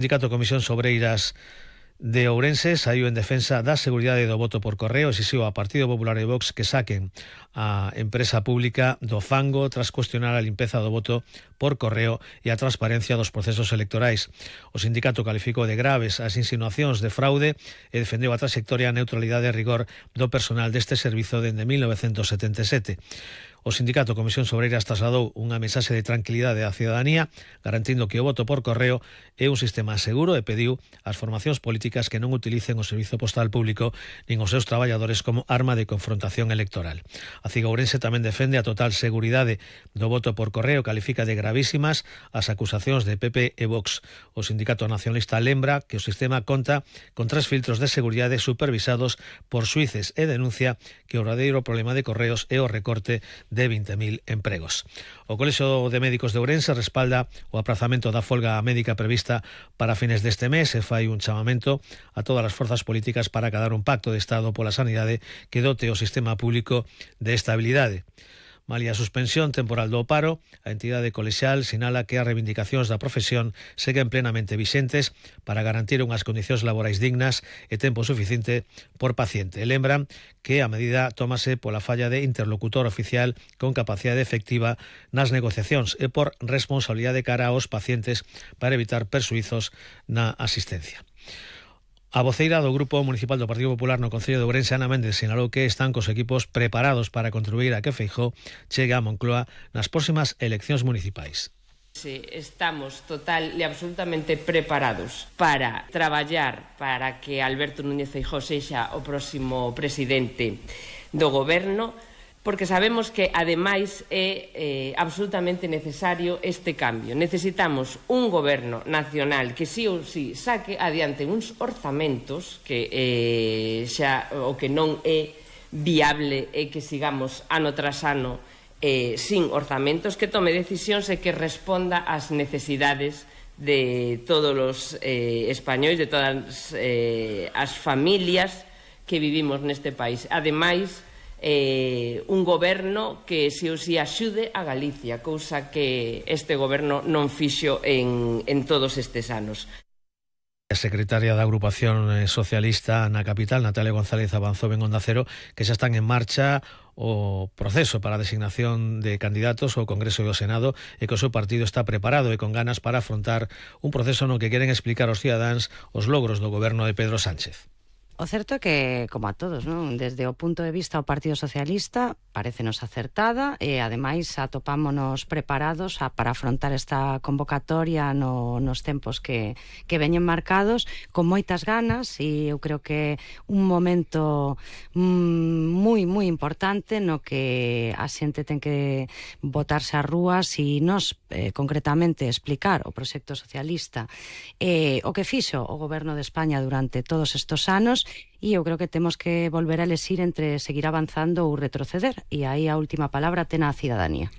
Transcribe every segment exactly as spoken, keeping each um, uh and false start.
Sindicato Comisión Obreiras de Ourense saiu en defensa da seguridade do voto por correo e exixiu ao Partido Popular e Vox que saquen a empresa pública do fango tras cuestionar a limpeza do voto por correo e a transparencia dos procesos electorais. O sindicato calificou de graves as insinuacións de fraude e defendeu a trayectoria, a neutralidade e rigor do personal deste servizo dende mil novecentos setenta e sete. O sindicato Comisión Obreiras trasladou unha mensaxe de tranquilidade á cidadanía, garantindo que o voto por correo é un sistema seguro e pediu ás formacións políticas que non utilicen o servizo postal público nin os seus traballadores como arma de confrontación electoral. A Ciga Ourense tamén defende a total seguridade do voto por correo, califica de gravísimas as acusacións de P P e Vox. O sindicato nacionalista lembra que o sistema conta con tres filtros de seguridade supervisados por xuíces e denuncia que o verdadeiro problema de Correos é o recorte de vinte mil empregos. O Colexio de Médicos de Ourense respalda o aprazamento da folga médica prevista para fines deste mes e fai un chamamento a todas as forzas políticas para acadar un pacto de Estado pola sanidade que dote o sistema público de estabilidade. Malia a suspensión temporal do paro, a entidade colexial sinala que as reivindicacións da profesión seguen plenamente vixentes para garantir unhas condicións laborais dignas e tempo suficiente por paciente. Lembran que a medida tómase pola falla de interlocutor oficial con capacidade efectiva nas negociacións e por responsabilidade cara aos pacientes para evitar persuizos na asistencia. A voceira do Grupo Municipal do Partido Popular no Concello de Ourense, Ana Méndez, sinalou que están cos equipos preparados para contribuir a que Feijóo chegue a Moncloa nas próximas eleccións municipais. Sí, estamos total e absolutamente preparados para traballar para que Alberto Núñez Feijóo sexa o próximo presidente do goberno, porque sabemos que, ademais, é eh, absolutamente necesario este cambio. Necesitamos un goberno nacional que sí ou sí saque adiante uns orzamentos que eh, xa o que non é viable é que sigamos ano tras ano eh, sin orzamentos, que tome decisións e que responda ás necesidades de todos os eh, españois, de todas eh, as familias que vivimos neste país. Ademais, Eh, un goberno que si ou si axude a Galicia, cousa que este goberno non fixo en, en todos estes anos. A secretaria da agrupación socialista na capital, Natalia González, avanzou en Onda Cero que xa están en marcha o proceso para a designación de candidatos ao Congreso e ao Senado e que o seu partido está preparado e con ganas para afrontar un proceso no que queren explicar aos cidadáns os logros do goberno de Pedro Sánchez. O certo é que, como a todos, non? Desde o punto de vista do Partido Socialista parécenos acertada e, ademais, atopámonos preparados a, para afrontar esta convocatoria no, nos tempos que, que veñen marcados con moitas ganas, e eu creo que un momento mm, moi, moi importante no que a xente ten que botarse ás rúas e nos, eh, concretamente, explicar o proxecto socialista eh, o que fixo o goberno de España durante todos estes anos. E eu creo que temos que volver a elegir entre seguir avanzando ou retroceder, e aí a última palabra ten a cidadanía.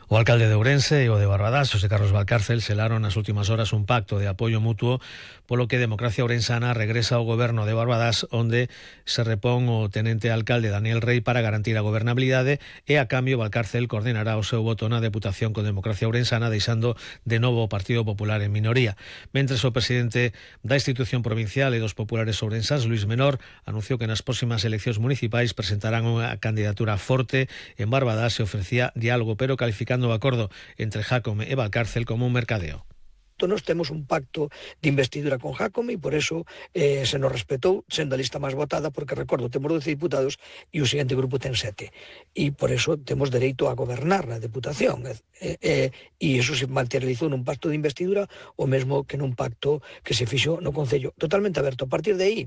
O alcalde de Ourense e o de Barbadás, José Carlos Valcárcel, selaron nas últimas horas un pacto de apoio mutuo polo que Democracia Ourensana regresa ao goberno de Barbadás, onde se repón o tenente alcalde Daniel Rey para garantir a gobernabilidade e, a cambio, Valcárcel coordinará o seu voto na Deputación con Democracia Ourensana, deixando de novo o Partido Popular en minoría. Mentres, o presidente da institución provincial e dos populares ourensás, Luis Menor, anunciou que nas próximas eleccións municipais presentarán unha candidatura forte en Barbadás e ofrecía diálogo, pero calificando o acordo entre Jácome e Valcárcel como un mercadeo. Nos temos un pacto de investidura con Jácome e por eso eh, se nos respetou sendo a lista máis votada, porque, recordo, temos doce diputados e o seguinte grupo ten sete, e por eso temos dereito a gobernar na Deputación, e eh, eh, iso se materializou nun pacto de investidura o mesmo que nun pacto que se fixo no Concello, totalmente aberto. A partir de aí,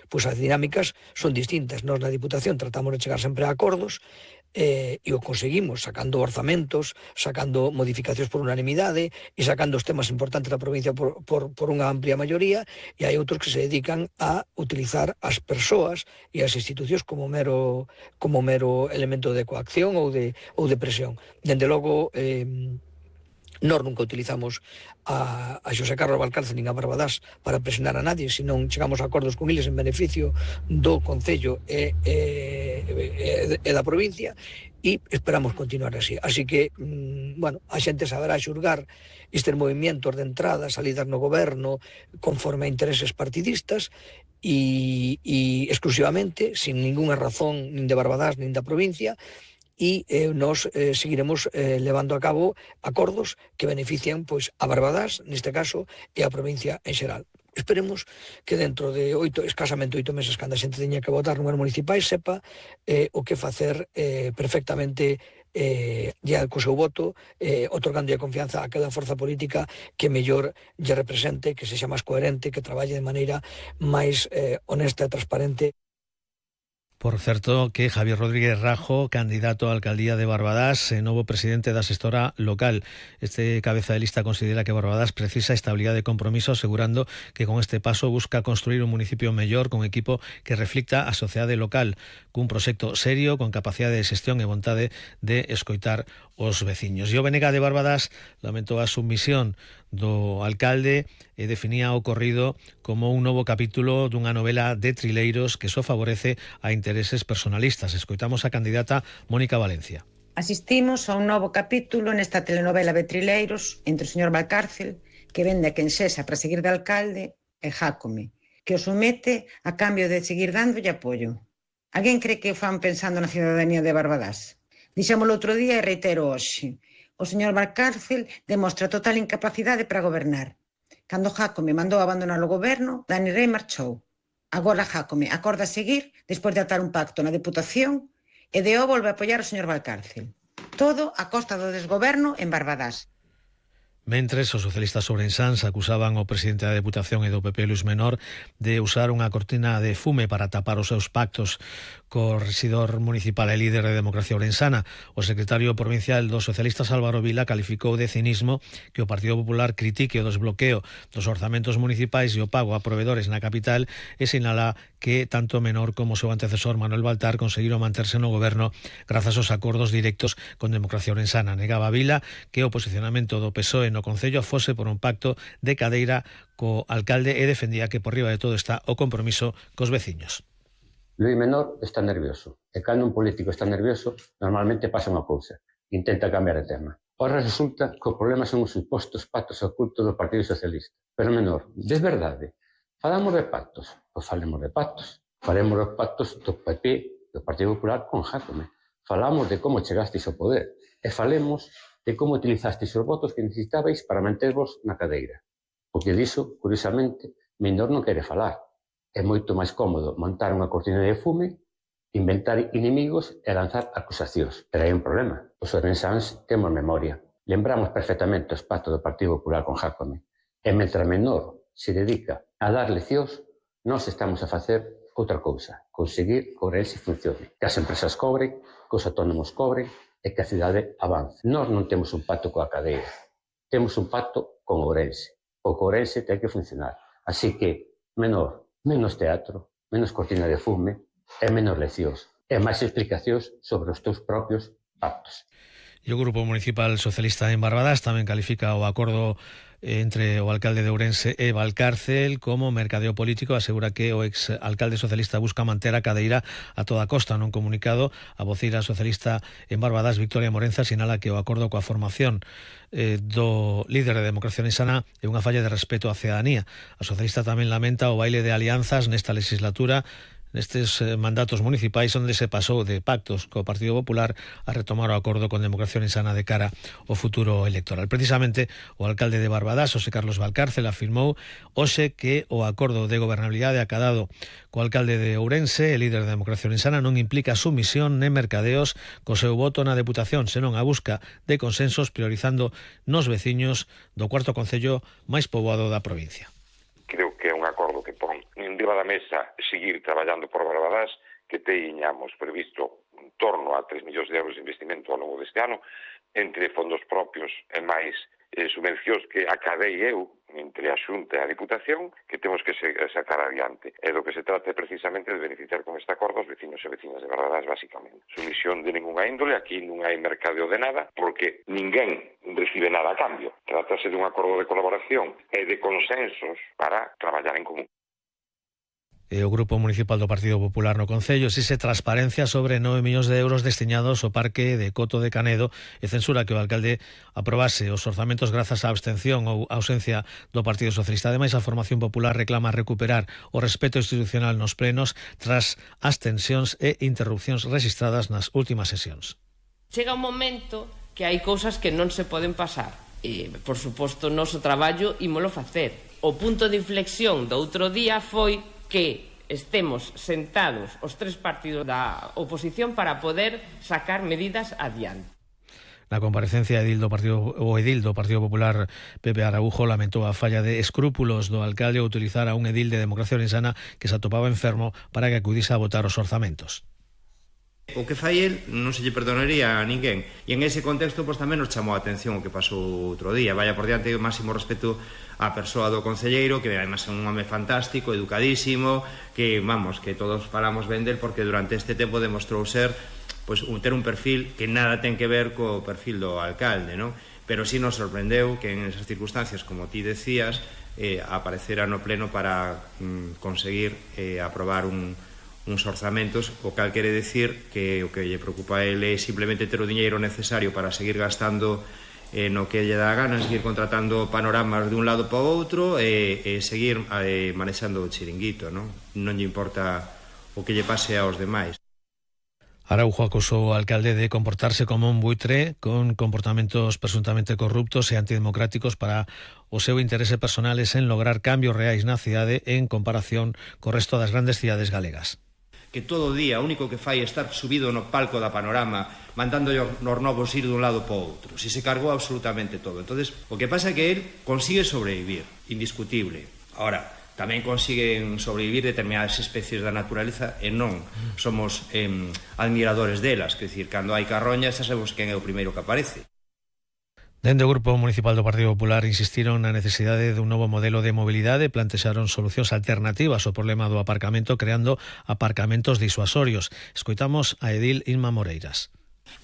pois as dinámicas son distintas. Nós na Diputación tratamos de chegar sempre a acordos, Eh, e o conseguimos sacando orzamentos, sacando modificacións por unanimidade e sacando os temas importantes da provincia por, por, por unha amplia maioría, e hai outros que se dedican a utilizar as persoas e as institucións como mero, como mero elemento de coacción ou de, ou de presión. Dende logo, eh, Nós nunca utilizamos a, a Xosé Carlos Valcárcel nin a Barbadás para presionar a nadie, senón chegamos a acordos con eles en beneficio do Concello e, e, e, e da provincia, e esperamos continuar así. Así que, mmm, bueno, a xente saberá xulgar estes movimentos de entrada, salidas no goberno, conforme a intereses partidistas, e, e exclusivamente, sin ninguna razón nin de Barbadás nin da provincia, e eh, nos eh, seguiremos eh, levando a cabo acordos que benefician pois a Barbadás, neste caso, e a provincia en xeral. Esperemos que dentro de oito, escasamente oito meses, cando a xente teña que votar números municipais, sepa eh, o que facer eh, perfectamente eh, ya co seu voto, eh, otorgando a confianza a cada forza política que mellor lle represente, que sexa máis coherente, que traballe de maneira máis eh, honesta e transparente. Por certo, que Javier Rodríguez Rajo, candidato a alcaldía de Barbadás, eh, novo presidente da xestora local. Este cabeza de lista considera que Barbadás precisa estabilidade de compromiso, asegurando que con este paso busca construir un municipio mellor con equipo que reflicta a sociedade local, cun proxecto serio, con capacidade de xestión e vontade de escoitar os veciños. E o B N G de Barbadás lamentou a submisión do alcalde e definía o ocorrido como un novo capítulo dunha novela de trileiros que só favorece a intereses personalistas. Escoitamos a candidata Mónica Valencia. Asistimos a un novo capítulo nesta telenovela de trileiros entre o señor Valcárcel, que vende a quen sexa para seguir de alcalde, e Jácome, que o somete a cambio de seguir dándolle apoio. Alguén cree que o fan pensando na cidadanía de Barbadás? Dixémolo outro día e reitero hoxe. O señor Valcárcel demostra total incapacidade para gobernar. Cando Jácome mandou abandonar o goberno, Dani Rei marchou. Agora Jácome acorda seguir despois de atar un pacto na Deputación e de o volve a apoiar o señor Valcárcel. Todo a costa do desgoberno en Barbadás. Mentres, os socialistas ourensáns acusaban o presidente da Deputación e do P P, Luis Menor, de usar unha cortina de fume para tapar os seus pactos co rexidor municipal e líder de Democracia Ourensana. O secretario provincial dos socialistas, Álvaro Vila, calificou de cinismo que o Partido Popular critique o desbloqueo dos orzamentos municipais e o pago a provedores na capital e sinala que tanto Menor como o seu antecesor Manuel Baltar conseguiron manterse no goberno grazas aos acordos directos con Democracia Ourensana. Negaba Vila que o posicionamento do P S O E no Concello fose por un pacto de cadeira co alcalde e defendía que por riba de todo está o compromiso cos veciños. Luis Menor está nervioso, e cando un político está nervioso, normalmente pasa unha cousa, intenta cambiar de tema. Ora resulta que o problema son os supostos pactos ocultos do Partido Socialista. Pero Menor, de verdade, falamos de pactos, pois falemos de pactos. Faremos os pactos do P P, do Partido Popular, con Jácome. Falamos de como chegastes ao poder, e falemos de como utilizastes os votos que necesitabais para mantervos na cadeira. Porque diso, curiosamente, Menor non quere falar. É moito máis cómodo montar unha cortina de fume, inventar inimigos e lanzar acusacións. Pero hai un problema. Os ourensáns temos memoria. Lembramos perfectamente os pactos do Partido Popular con Jácome. E mentre Menor se dedica a dar leccións, nós estamos a facer outra cousa. Conseguir que Ourense funcione. Que as empresas cobren, que os autónomos cobren e que a cidade avance. Nós non temos un pacto coa cadeira. Temos un pacto con Ourense. O que Ourense ten que funcionar. Así que, Menor, menos teatro, menos cortina de fume e menos leccións e máis explicacións sobre os teus propios pactos. E o Grupo Municipal Socialista en Barbadás tamén califica o acordo entre o alcalde de Ourense e Valcárcel como mercadeo político. Asegura que o ex alcalde socialista busca manter a cadeira a toda costa. Nun comunicado, a voceira socialista en Barbadás, Victoria Morenza, sinala que o acordo coa formación eh, do líder de Democracia Ourensana é unha falla de respeto á cidadanía. A socialista tamén lamenta o baile de alianzas nesta legislatura, nestes mandatos municipais onde se pasou de pactos co Partido Popular a retomar o acordo con Democracia Ourensana de cara ao futuro electoral. Precisamente, o alcalde de Barbadás, José Carlos Valcárcel, afirmou hoxe que o acordo de gobernabilidade acadado co alcalde de Ourense e líder de Democracia Ourensana non implica sumisión nem mercadeos co seu voto na Deputación, senón a busca de consensos priorizando nos veciños do cuarto concello máis poboado da provincia. Creo que é un acordo que pon en riba da mesa seguir traballando por Barbadás, que teñamos previsto en torno a tres millóns de euros de investimento ao longo deste ano, entre fondos propios e máis eh, subvencións que acadei eu entre a Xunta e a Diputación que temos que sacar adiante. E do que se trata é precisamente de beneficiar con este acordo os vecinos e vecinas de Barbadás, basicamente. Sumisión de ninguna índole, aquí non hai mercadeo de nada, porque ninguén recibe nada a cambio. Trátase dun acordo de colaboración e de consensos para traballar en común. E o Grupo Municipal do Partido Popular no Concello exixe transparencia sobre nove millóns de euros destinados ao Parque de Coto de Canedo e censura que o alcalde aprobase os orzamentos grazas á abstención ou ausencia do Partido Socialista. Ademais, a Formación Popular reclama recuperar o respeto institucional nos plenos tras as tensións e interrupcións registradas nas últimas sesións. Chega un momento que hai cousas que non se poden pasar. E, por suposto, o noso traballo ímolo facer. O punto de inflexión do outro día foi que estemos sentados os tres partidos da oposición para poder sacar medidas adiante. Na comparecencia, edil do Partido, o edil do Partido Popular, Pepe Araujo, lamentou a falla de escrúpulos do alcalde ao utilizar a un edil de Democracia Orensana que se atopaba enfermo para que acudise a votar os orzamentos. O que fai el non se lle perdonaría a ninguén. E en ese contexto, pois, tamén nos chamou a atención o que pasou outro día. Vaya por diante o máximo respeto á persoa do concelleiro, que además é un home fantástico, educadísimo, que, vamos, que todos falamos ben del, porque durante este tempo demostrou ser, pois, un, ter un perfil que nada ten que ver co perfil do alcalde, non? Pero sí nos sorprendeu que en esas circunstancias, como ti decías, eh, aparecera no pleno para mm, conseguir eh, aprobar un uns orzamentos, o cal quere decir que o que lle preocupa a ele é simplemente ter o diñeiro necesario para seguir gastando eh, no que lle dá gana, seguir contratando panoramas de un lado para o outro e, e seguir eh, manexando o chiringuito, non? Non lle importa o que lle pase aos demais. Araujo acusou ao alcalde de comportarse como un buitre con comportamentos presuntamente corruptos e antidemocráticos para o seu interese personal en lograr cambios reais na cidade en comparación co resto das grandes cidades galegas. Que todo o día o único que fai é estar subido no palco da Panorama mandando nos novos ir dun lado para o outro. Si se cargou absolutamente todo. Entonces, o que pasa é que él consigue sobrevivir, indiscutible. Ahora, tamén consiguen sobrevivir determinadas especies da naturaleza e non somos eh, admiradores delas. Quer dicir, cando hai carroña xa sabemos quen é o primeiro que aparece. Dende o Grupo Municipal do Partido Popular insistiron na necesidade dun novo modelo de mobilidade e plantexaron solucións alternativas ao problema do aparcamento creando aparcamentos disuasorios. Escoitamos a edil Inma Moreiras.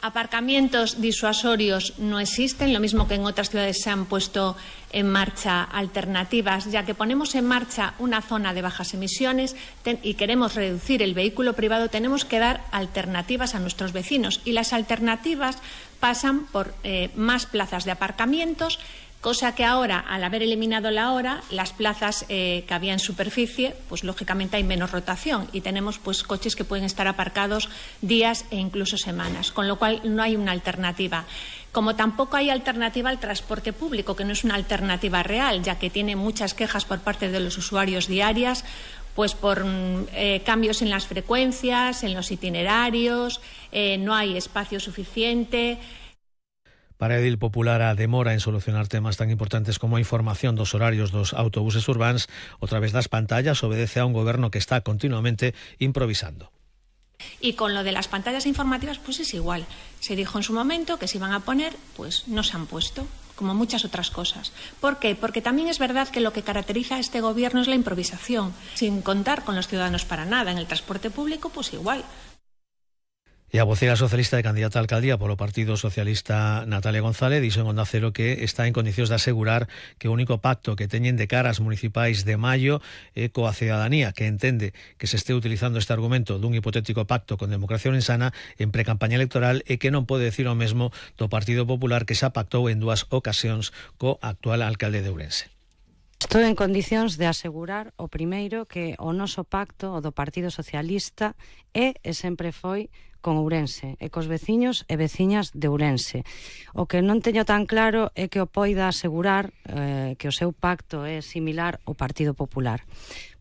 Aparcamientos disuasorios no existen, lo mismo que en otras ciudades se han puesto en marcha alternativas, ya que ponemos en marcha una zona de bajas emisiones y queremos reducir el vehículo privado, tenemos que dar alternativas a nuestros vecinos y las alternativas pasan por eh, más plazas de aparcamientos, cosa que ahora, al haber eliminado la hora, las plazas eh, que había en superficie, pues lógicamente hay menos rotación y tenemos pues coches que pueden estar aparcados días e incluso semanas, con lo cual no hay una alternativa. Como tampoco hay alternativa al transporte público, que no es una alternativa real, ya que tiene muchas quejas por parte de los usuarios diarias, pues por eh, cambios en las frecuencias, en los itinerarios, eh, no hay espacio suficiente. Para a edil popular, a demora en solucionar temas tan importantes como a información dos horarios dos autobuses urbáns a través das pantallas obedece a un goberno que está continuamente improvisando. Y con lo de las pantallas informativas, pues es igual. Se dijo en su momento que se iban a poner, pues no se han puesto, como muchas otras cosas. ¿Por qué? Porque también es verdad que lo que caracteriza a este gobierno es la improvisación, sin contar con los ciudadanos para nada. En el transporte público, pues igual. E a vocera socialista e candidata a alcaldía polo Partido Socialista, Natalia González, dixo en Onda Cero que está en condicións de asegurar que o único pacto que teñen de cara ás municipais de maio é coa cidadanía, que entende que se este utilizando este argumento dun hipotético pacto con Democracia Orensana en precampaña electoral e que non pode decir o mesmo do Partido Popular, que xa pactou en dúas ocasións co actual alcalde de Ourense. Estou en condicións de asegurar o primeiro que o noso pacto, o do Partido Socialista, é e sempre foi con Ourense e cos veciños e veciñas de Ourense. O que non teño tan claro é que o poida asegurar eh, que o seu pacto é similar ao Partido Popular.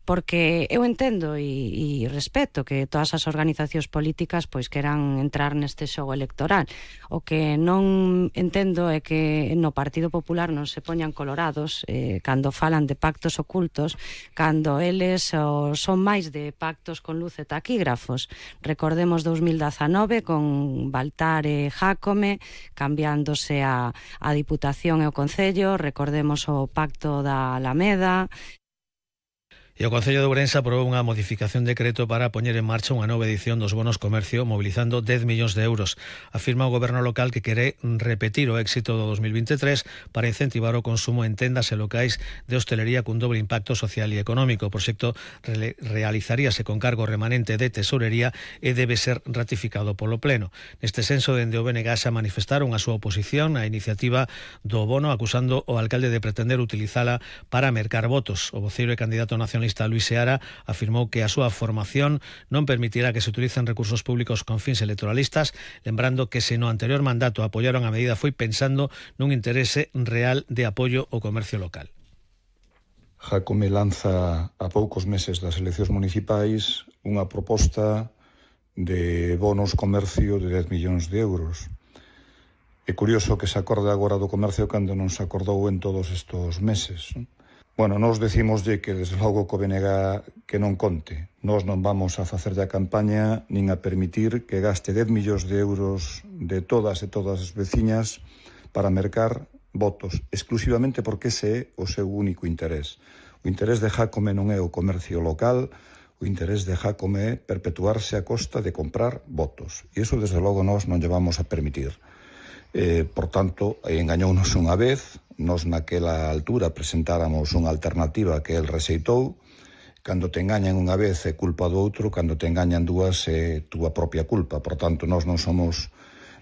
porque eu entendo e, e respeto que todas as organizacións políticas pois queran entrar neste xogo electoral. O que non entendo é que no Partido Popular non se poñan colorados eh, cando falan de pactos ocultos, cando eles o, son máis de pactos con luz e taquígrafos. Recordemos dous mil dezanove con Baltar e Jácome cambiándose a, a Diputación e o Concello, recordemos o pacto da Alameda. E o Concello de Ourense aprobou unha modificación de decreto para poñer en marcha unha nova edición dos bonos comercio mobilizando dez millóns de euros. Afirma o goberno local que quere repetir o éxito do dos mil veintitrés para incentivar o consumo en tendas e locais de hostelería cun doble impacto social e económico. O proxecto re realizaríase con cargo remanente de tesorería e debe ser ratificado polo Pleno. Neste senso, dende o B N G xa manifestaron a súa oposición á iniciativa do bono, acusando o alcalde de pretender utilizala para mercar votos. O voceiro e candidato nacionalista Luis Seara afirmou que a súa formación non permitirá que se utilicen recursos públicos con fins electoralistas, lembrando que se no anterior mandato apoiaron a medida foi pensando nun interese real de apoio ao comercio local. Jácome lanza a poucos meses das eleccións municipais unha proposta de bonos comercio de dez millóns de euros. É curioso que se acorde agora do comercio cando non se acordou en todos estes meses, non? Bueno, nos decimoslle que desde logo co B N G que non conte. Nós non vamos a facer a campaña nin a permitir que gaste dez millóns de euros de todas e todas as veciñas para mercar votos, exclusivamente porque ese é o seu único interés. O interés de Jácome non é o comercio local, o interés de Jácome é perpetuarse a costa de comprar votos. E iso, desde logo, nós non lle vamos a permitir. Eh, por tanto, engañounos unha vez, nos naquela altura presentáramos unha alternativa que el rexeitou. Cando te engañan unha vez é culpa do outro, cando te engañan dúas é túa propia culpa. Por tanto, nós non somos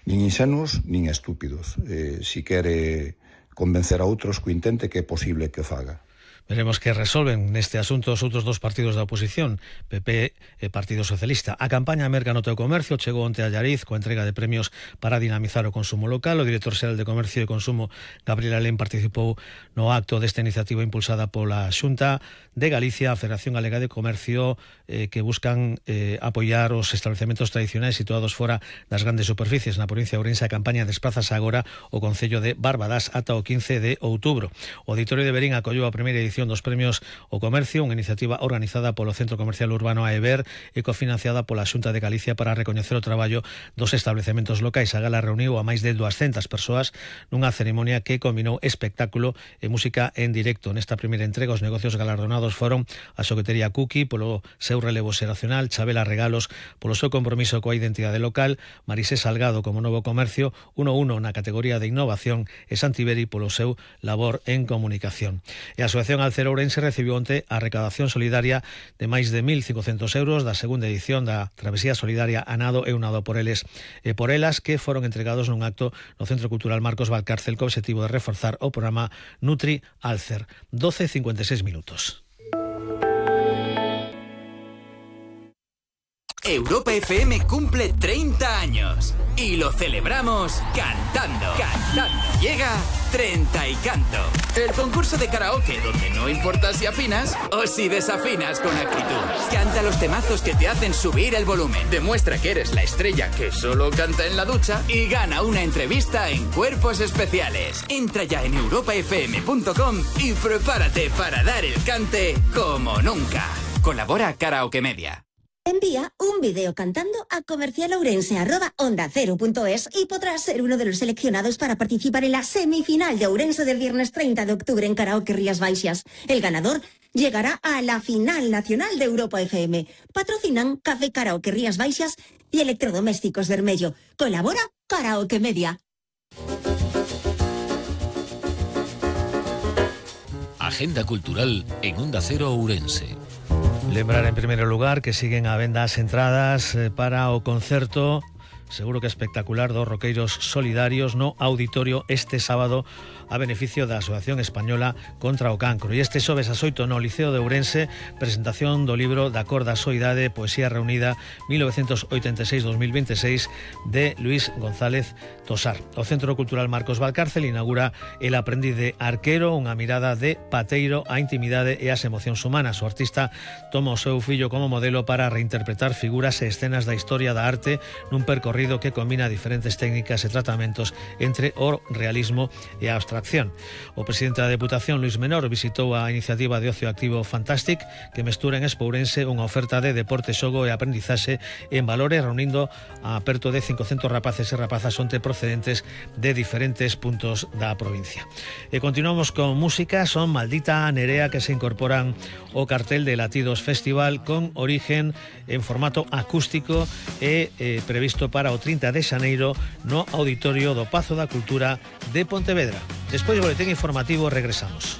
nin insenuos nin estúpidos. Eh, si quere convencer a outros que intente, que é posible que faga. Veremos que resolven neste asunto os outros dos partidos da oposición, P P e Partido Socialista. A campaña Merca no teu comercio chegou onte a Allariz coa entrega de premios para dinamizar o consumo local. O director xeral de Comercio e Consumo, Gabriel Alén, participou no acto desta iniciativa impulsada pola Xunta de Galicia, a Federación Galega de Comercio, eh, que buscan eh, apoiar os establecementos tradicionais situados fora das grandes superficies. Na provincia de Ourense, a campaña desplázase agora o Concello de Barbadás ata o quince de outubro. O Auditorio de Verín acollou a primeira edición dos premios ao comercio, unha iniciativa organizada polo Centro Comercial Urbano AEBER e cofinanciada pola Xunta de Galicia para recoñecer o traballo dos establecementos locais. A gala reuniu a máis de duascentas persoas nunha ceremonia que combinou espectáculo e música en directo. Nesta primeira entrega, os negocios galardonados foron a xoguetería Cookie polo seu relevo xeracional, Chabela Regalos polo seu compromiso coa identidade local, Marisé Salgado como novo comercio, uno uno na categoría de innovación e Santiberi polo seu labor en comunicación. E a Asociación Alcero Ourense recibiu onte a recaudación solidaria de máis de mil cincocentos euros da segunda edición da Travesía Solidaria A Nado e Unado por eles e por elas, que foron entregados nun acto no Centro Cultural Marcos Valcárcel co objetivo de reforzar o programa Nutri Alcer. doce cincuenta y seis minutos. Europa F M cumple treinta años y lo celebramos cantando. Cantando. Llega Treinta y Canto, el concurso de karaoke donde no importa si afinas o si desafinas con actitud. Canta los temazos que te hacen subir el volumen. Demuestra que eres la estrella que solo canta en la ducha y gana una entrevista en Cuerpos Especiales. Entra ya en europa f m punto com y prepárate para dar el cante como nunca. Colabora Karaoke Media. Envía un vídeo cantando a comercialourense arroba onda cero punto es y podrás ser uno de los seleccionados para participar en la semifinal de Ourense del viernes treinta de octubre en Karaoke Rías Baixas. El ganador llegará a la final nacional de Europa F M. Patrocinan Café Karaoke Rías Baixas y Electrodomésticos Bermello. Colabora Karaoke Media. Agenda cultural en Onda Cero Ourense. Lembrar en primeiro lugar que siguen a venda as entradas para o concerto seguro que espectacular dos Roqueiros Solidarios no Auditorio este sábado a beneficio da Asociación Española contra o Cancro. E este xoves ás oito no Liceo de Ourense, presentación do libro Da cor da soidade, Poesía reunida mil novecentos oitenta e seis a dos mil veintiséis de Luis González Tosar. O Centro Cultural Marcos Valcárcel inaugura El aprendiz de arquero, unha mirada de pateiro á intimidade e ás emocións humanas. O artista toma o seu fillo como modelo para reinterpretar figuras e escenas da historia da arte nun percorrido que combina diferentes técnicas e tratamentos entre o realismo e a abstracción. O presidente da Deputación, Luis Menor, visitou a iniciativa de ocio activo Fantastic, que mestura en Expo Ourense unha oferta de deporte, xogo e aprendizaxe en valores, reunindo a perto de cincocentos rapaces e rapazas onte procedentes de diferentes puntos da provincia. E continuamos con música. Son Maldita Nerea, que se incorporan ao cartel de Latidos Festival con origen en formato acústico e eh, previsto para o trinta de xaneiro no Auditorio do Pazo da Cultura de Pontevedra. Despois do boletín informativo regresamos.